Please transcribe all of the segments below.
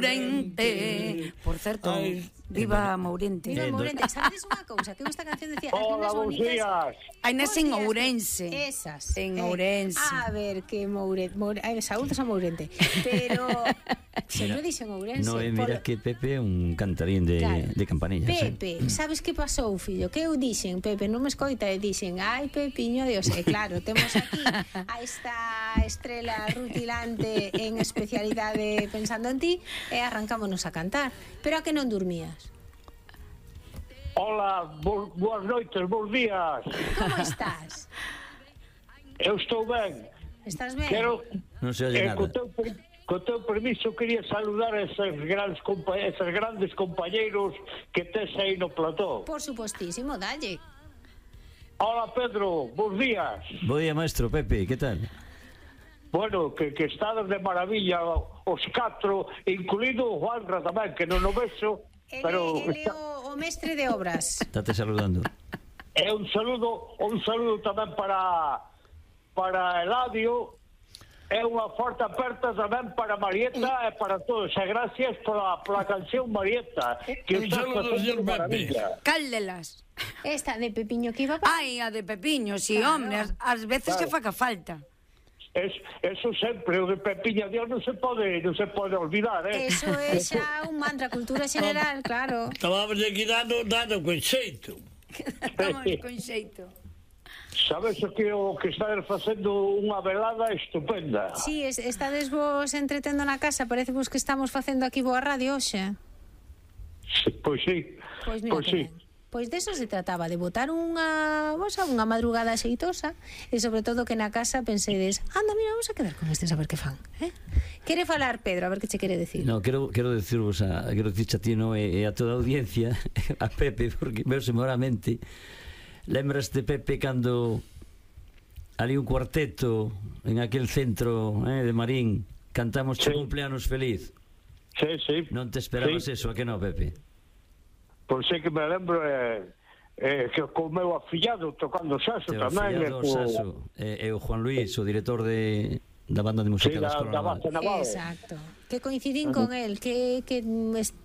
Mourente. Por certo, viva Mourente. Viva Mourente. Sabedes unha cousa? Que esta canción decía... Hola, bons días. Hai nas en Ourense. Esas. En Ourense. A ver, que Mourente... Saúdos a Mourente. Pero... Sempre dixen Ourense. No, mira que Pepe é un cantarín de campanillas. Pepe, sabes que pasou, fillo? Que eu dixen, Pepe, non me escoita, e dixen, ai, Pepiño, Dios, e claro, temos aquí a esta estrela rutilante en especialidade pensando en ti, e arrancámonos a cantar. Pero a que non dormías? Hola, boas noites, bons días. Como estás? Eu estou ben. Estás ben? Non se oye nada. Co teu permiso, quería saludar a esos grandes compañeiros que tes aí no plató. Por supostísimo, dalle. Hola, Pedro, bons días. Bo día, maestro Pepe, que tal? Bueno, que estades de maravilla os catro, incluído o Juanra tamén, que non o vexo, pero... Ele o mestre de obras. Estate saludando. E un saludo tamén para Eladio, e unha forte aperta tamén para Marieta e para todos. E gracias pola canción Marieta, que Un saludo, señor Pepe. Cal delas? Esta de Pepiño que iba para... Ai, a de Pepiño, si, hombre, ás veces que faca falta. Eso sempre, o de Pepiña Dios non se pode olvidar, Eso é xa un mantra, cultura general, claro. Estábamos aquí dando con xeito. Estamos con xeito. Sabes o que estades facendo unha velada estupenda. Si, estades vos entretendo na casa, parece vos que estamos facendo aquí boa radio hoxe. Pois sí. Pois mira que ben. Pois deso se trataba, de botar unha madrugada xeitosa, e sobre todo que na casa pensedes, anda, mira, vamos a quedar con estes a ver que fan, Quere falar Pedro, a ver que che quere decir. No, quero dicirvos quero dicirche a ti, no, e a toda a audiencia, a Pepe, porque veose moramente. Lembras de Pepe cando ali un cuarteto en aquel centro de Marín cantamos che cumpleanos feliz? Sí. Non te esperabas eso, a que no, Pepe? Pois sei que me lembro que co meu afillado tocando saxo tamén. O saxo e o Juan Luis, o director da banda de música da Escola Naval. Exacto. Que coincidín con él, que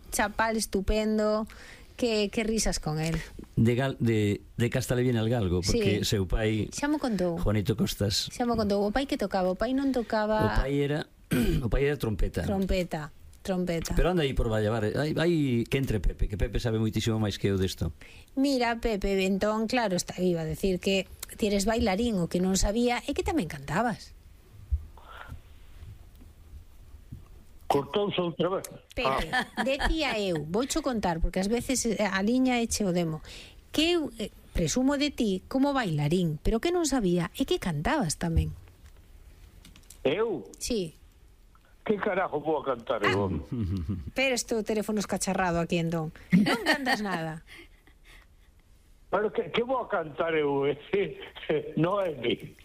chapal estupendo, que risas con él. De Casta le viene al galgo, porque seu pai, xa mo contou, Juanito Costas, xa mo contou. O pai que tocaba, o pai non tocaba. O pai era trompeta. Pero anda aí por Vallavar, hai que entre Pepe, que Pepe sabe moitísimo máis que eu desto. Mira, Pepe, entón, claro, iba a decir que ti eres bailarín, o que non sabía é que tamén cantabas. Cortouse outra vez. Pepe, decía eu, voucho contar, porque ás veces a liña eche o demo, que eu presumo de ti como bailarín, pero que non sabía é que cantabas tamén. Eu? Sí. Que carajo vou a cantar eu? Pero este teléfono escacharrado aquí, entón. Non cantas nada. Pero que vou a cantar eu? Non é mi.